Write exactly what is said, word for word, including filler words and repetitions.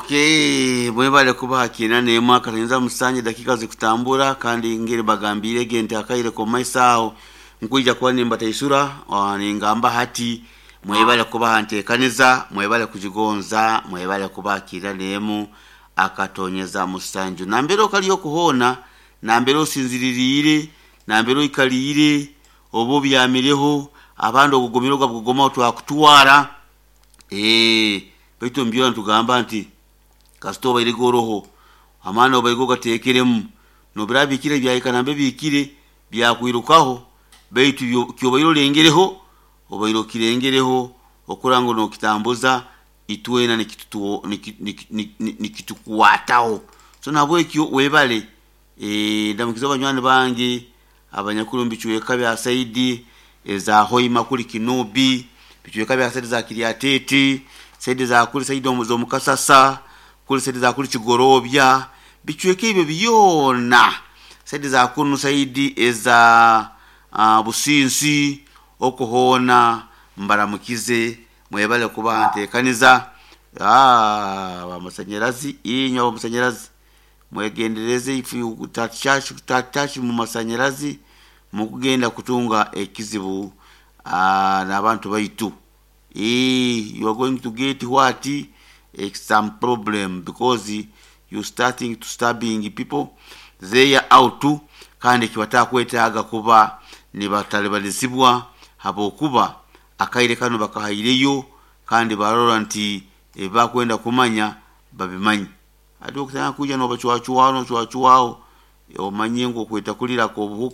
Okay, mwebale kuba hakina n'emu akatonyeza musanje dakika zikutambura. Kandi ngeri bagambirege nti akaire komaiso aho nkwija kuba nimbataisura. ah, ningamba hati mwebale kuba ntekaniza, mwebale kujigonza, mwebale kuba hakina n'emu akatonyeza musanju. Nambere okali okuhoona, nambere osinziririire, nambere oikaliire, oba obyamireho, abandi ogugumire ogwabuguma twakutwara. Eh, baitu omubyona nitugamba nti kasita obaire goroho amaani obaire ogateekeremu, nobiraba bikire byahika nambe bikire byakwirukaho, baitu byo- kyobaire olengereho, obaire okirengereho okura ngu nokitambuza itwena nikitutu- niki- niki- niki- nikitukwataho. So nahabwekyo webale. eh, ndamukiza abanywani bange abanyakuli omu bicweka bya saidi eza Hoima, kuli Kinobi, bicweka bya saidi za Kiryatete, saidi za kuli saidi omu- z'omukasasa kuli saidi za kuli Kigorobya, bicweka ebyo byona, saidi za kunu, saidi eza uh, Businsi okuhoona, mbaramukize, mwebale kuba ntekaniza. Ah, abamasanyarazi, inywe abamasanyarazi mwegendereze. If you touch touch mu masanyarazi mukugenda kutunga ekizibu. ah, n'abantu baitu. Eh, you are going to get what, eh, some problem, because you starting to stabbing people they are out. Kandi kibatakwetaaga kuba nibatalibalizibwa habwokuba akaire kano bakahaireyo kandi barora nti ebibakwenda kumanya babimanyi. Ati okutandika kuija nobacwacwaho, nocwacwaho, omanye ngu okweta kulira obuhuka.